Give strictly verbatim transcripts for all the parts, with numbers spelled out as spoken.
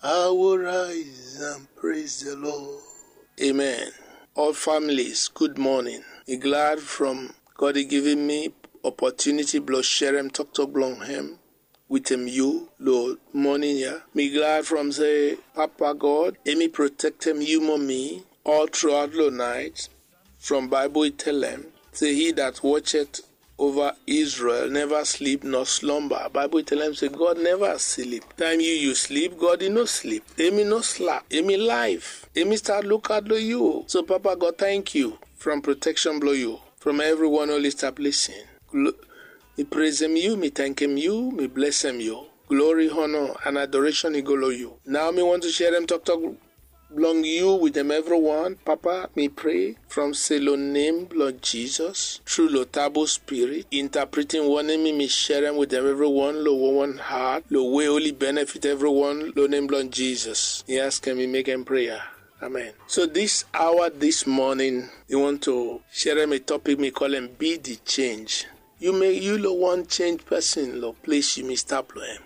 I will rise and praise the Lord. Amen. All families, good morning. Mi glad from God i givim mi opportunity blong sherem toktok blong hem wetem yu lo morning ya. Mi glad from se Papa God hemi protektem yu mo mi all throughout lo night. From Bible i telem se, he that watcheth over Israel never sleep nor slumber. Bible i telem se God never sleep. Time yu yu sleep, God i no sleep. Hemi no slap. Hemi life. Hemi start look out lo yu. So Papa God, thank you from protection blong yu, from everyone oli stap lisin. Glo- mi praisem yu, mi thankem yu, mi blessem yu. Glory, honor and adoration i go lo yu. Now mi want to sherem toktok blong yu wetem everyone. Papa, mi pray from se lo nem blong Jesus, through lo Tabu Spirit, interpreting wanem mi mi sherem wetem everyone lo one one heart, lo way oli benefit everyone lo nem blong Jesus. Mi askem, mi mekem prayer. Amen. So this hour, this morning, mi want to sherem a topic mi kolem Be the Change. Yu mek yu lo wan change person lo ples yu mi stap lo hem.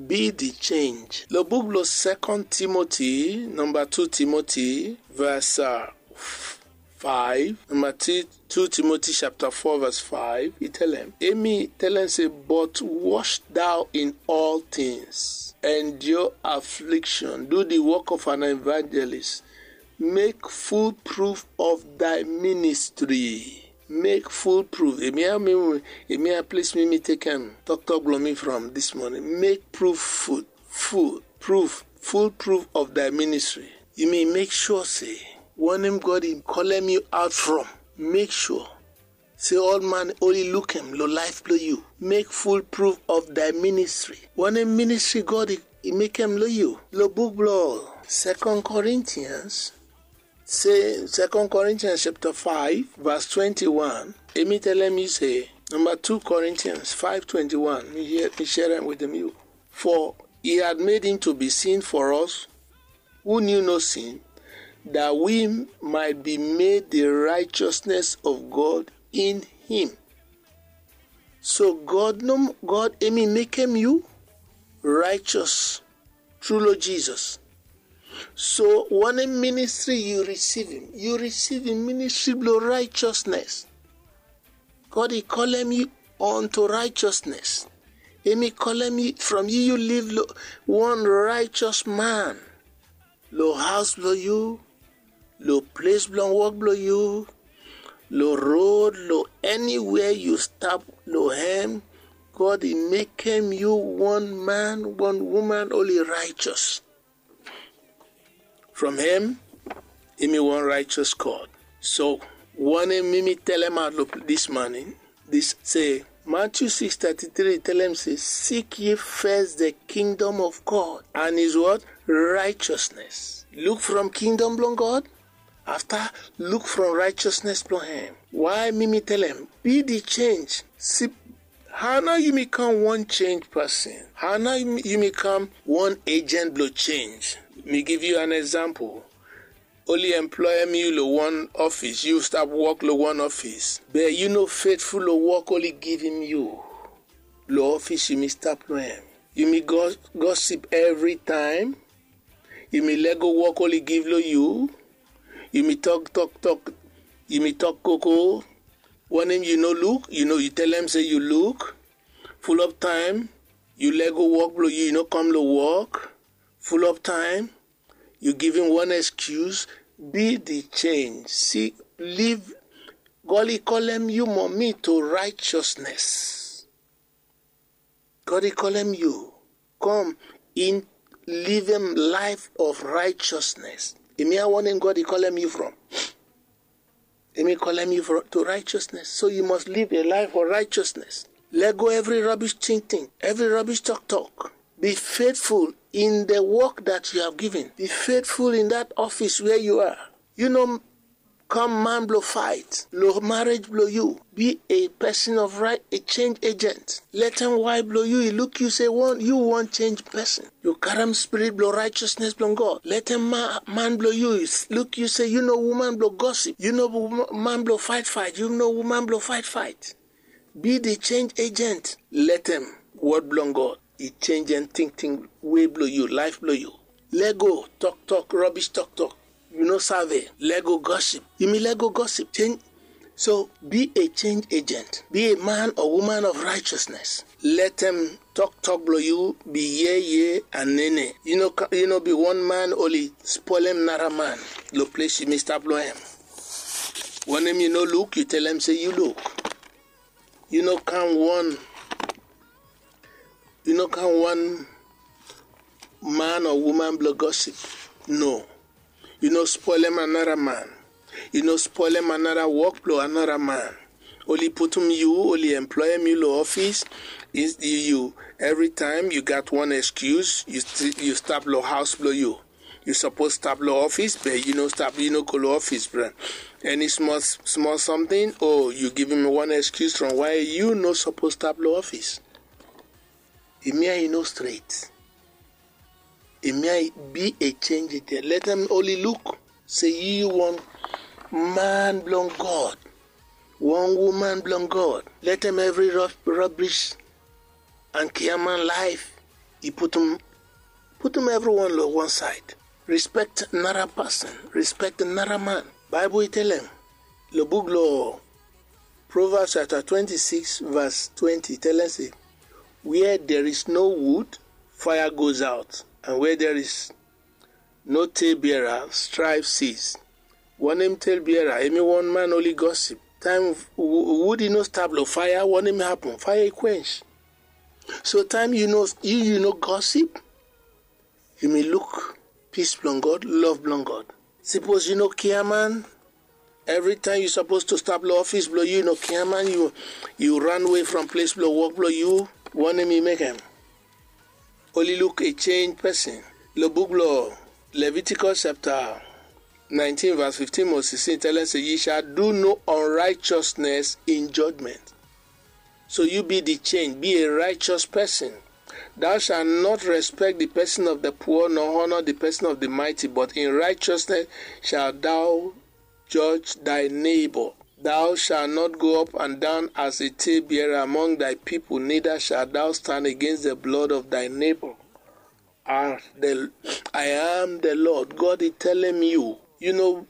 Be the change. Lo book lo Second Timothy, number two Timothy, verse uh, five, number two, two Timothy chapter four verse five, i telem. Hemi telem se, but watch thou in all things, endure affliction, do the work of an evangelist, make full proof of thy ministry. Make full proof. Hemi a mi, hemi a ples mi mi tekem toktok blong mi from this morning. Make proof full, full proof, full proof of thy ministry. Yu mi make sure se wanem God i kolem yu out from, make sure se ol man oli lukem lo life blong yu. Make full proof of thy ministry. Wanem ministry God i, i mekem lo yu. Lo book blo Second Corinthians, se Second Corinthians chapter five verse twenty-one, hemi telem yu se, number two Corinthians five twenty-one, mi hear, mi sherem wetem yu. For he had made him to be sin for us who knew no sin, that we might be made the righteousness of God in him. So God no, God hemi mekem yu righteous through lo Jesus. So wanem ministry yu risivim? Yu risivim ministry blo righteousness. God i kolem yu unto righteousness. Hemi kolem yu from yu, yu live lo wan righteous man. Lo haos blo yu, lo ples blong wok blo yu, lo road, lo eniwea yu stap lo hem, God i mekem yu wan man, wan woman oli righteous. From hem, hemi wan righteous God. So wanem mi mi telemaot lo this morning, this se Matthew six thirty-three telem se, seek ye first the kingdom of God and his what? Righteousness. Look from kingdom blong God, afta look from righteousness blong hem. Why mi mi telem? Be the change. Si, how nao yu mi kam wan change person? How nao yu mi, yu mi kam wan agent blo change? Mi give yu an example. Oli employem yu lo wan office, yu stap wok lo wan office. Be yu no faithful lo wok oli givim yu. Lo office yu mi stap lo hem. Yu mi gos-, gossip every time. Yu mi lego wok oli give lo yu. Yu mi tok, tok, tok. Yu mi tok koko. Wanem yu no look, yu no, yu telem se yu look. Full of time, yu lego wok blo yu, yu no kam lo wok. Full of time, yu givim wan excuse. Be the change. Si, live. God i kolem yu mo mi to righteousness. God i kolem yu. Come in, livem life of righteousness. Hemia wanem God i kolem yu from. Hemi kolem yu fro-, to righteousness. So yu must live a life of righteousness. Lego evri rubbish tingting, evri rubbish toktok. Be faithful in the work that you have given. Be faithful in that office where you are. Yu no kam man blo fight lo marriage blo yu. Be a person of right, a change agent. Letem waef blo yu i luk yu se wan, yu wan change person. Yu karem spirit blo righteousness blo God. Letem ma-, man blo yu i s-, luk yu se yu no woman blo gossip. Yu no wo-, man blo fight fight. Yu no woman blo fight fight. Be the change agent. Letem word blo God i change tingting way blo yu, life blo yu. Lego toktok, rubbish toktok. You no save. Lego gossip. Yumi lego gossip. Change. So be a change agent. Be a man or woman of righteousness. Letem toktok blong yu be yeye and nene. Yu no be one man oli spolem nara man. Lo ples yumi stap lo hem. Wanem yu no luk, yu telem se yu luk. Yu no kam one, yu no kam one man or woman blong gossip. No. Yu no spolem anara man. Yu no spolem anara wok blong anara man. Oli putum yu, oli employem yu lo office. Yu, yu, evri taem yu gat one excuse, yu stap lo haos blong yu. Yu sapos stap lo office, be yu no stap, yu no go lo office, bro. Any small, small something, o yu givim one excuse from why yu no sapos stap lo office. Hemia i no stret. Hemia i be a change agent. Letem oli luk se yu wan man blong God, wan woman blong God. Letem evri rubbish and kiaman laef i putum, putum evriwan lo wan saed. Respect nara pasin, respect nara man. Baebol i telem lo buk lo Proverbs chapter twenty-six verse twenty, telem se, where there is no wood, fire goes out, and where there is no tale bearer, strife cease. Wanem tale bearer? Hemi wan man oli gossip. Taem wood i no stap lo fire, wanem hapen? Fire i quench. So taem yu no, yu, yu no gossip, yumi luk peace blong God, love blong God. Sapos yu no kiaman, evri taem yu sapos to stap lo office blong yu, yu no kiaman, yu, yu ran wei from ples blong wok blong yu, wanem i mekem? Oli luk a change pesin. Lo buk blong Leviticus chapter nineteen verse fifteen mo sixteen telem se, ye shall do no unrighteousness in judgment. So yu be di change, be a righteous pesin. Thou shalt not respect the person of the poor, nor honor the person of the mighty, but in righteousness shalt thou judge thy neighbor. Thou shalt not go up and down as a talebearer among thy people, neither shalt thou stand against the blood of thy neighbor. As the, I am the Lord. God i telem yu, yu no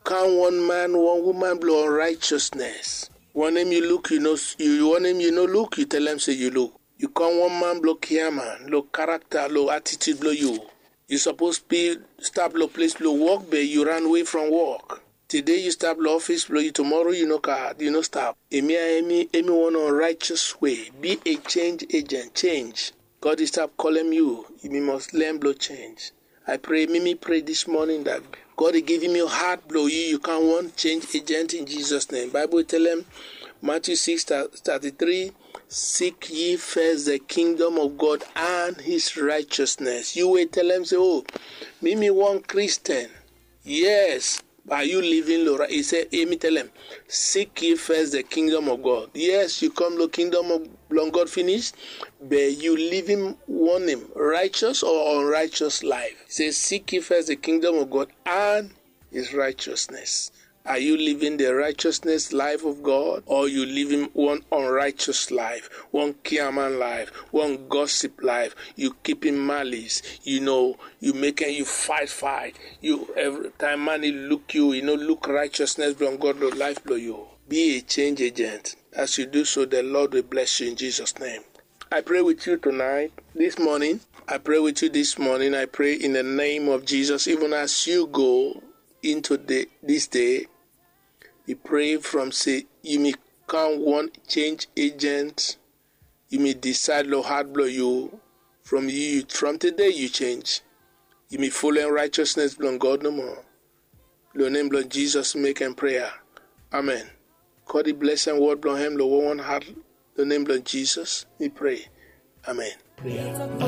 kam wan man, wan woman blong unrighteousness. Wanem yu luk, yu no, yu, wanem yu no luk, yu telem se yu luk. Yu kam wan man blong kiaman, lo character, lo attitude blong yu. Yu sapos be stap lo ples blong wok, be yu ran wei from wok. Tede yu stap lo office blong yu, tumoro yu no kam, yu no stap. Hemia, hemi, hemi wan unrighteous way. Be a change agent, change. God i stap kolem yu, yumi must learn blong change. I pray, mi mi pray this morning that God i givim yu heart blong yu, yu kam wan change agent in Jesus name. Baebol i telem, Matthew six thirty-three, seek ye first the kingdom of God and his righteousness. Yu we i telem se, o, mi mi wan Christian. Yes, are you living lo right? I se, hemi telem, seek ye first the kingdom of God. Yes, yu kam lo kingdom blong God finish, be yu livim wanem, righteous or unrighteous life? I se, seek ye first the kingdom of God and his righteousness. Are you living the righteousness life of God, or yu livim wan unrighteous life, wan kiaman life, wan gossip life? Yu kipim malice, yu no, yu mekem yu fight, fight. Yu, evri taem man i luk yu, i no luk righteousness blong God lo life blong yu. Be a change agent. As you do so, the Lord will bless you in Jesus' name. I pray with you tonight, this morning. I pray with you this morning. I pray in the name of Jesus, even as you go into the, this day, I pray from se yumi kam wan change agent. Yumi decide lo heart blong yu, from yu, from tede yu change. Yumi folem righteousness blong God nomo. Lo nem blong Jesus mekem prayer. Amen. God i blesem word blong hem lo wan wan heart. Lo nem blong Jesus mi pray. Amen. Prayer.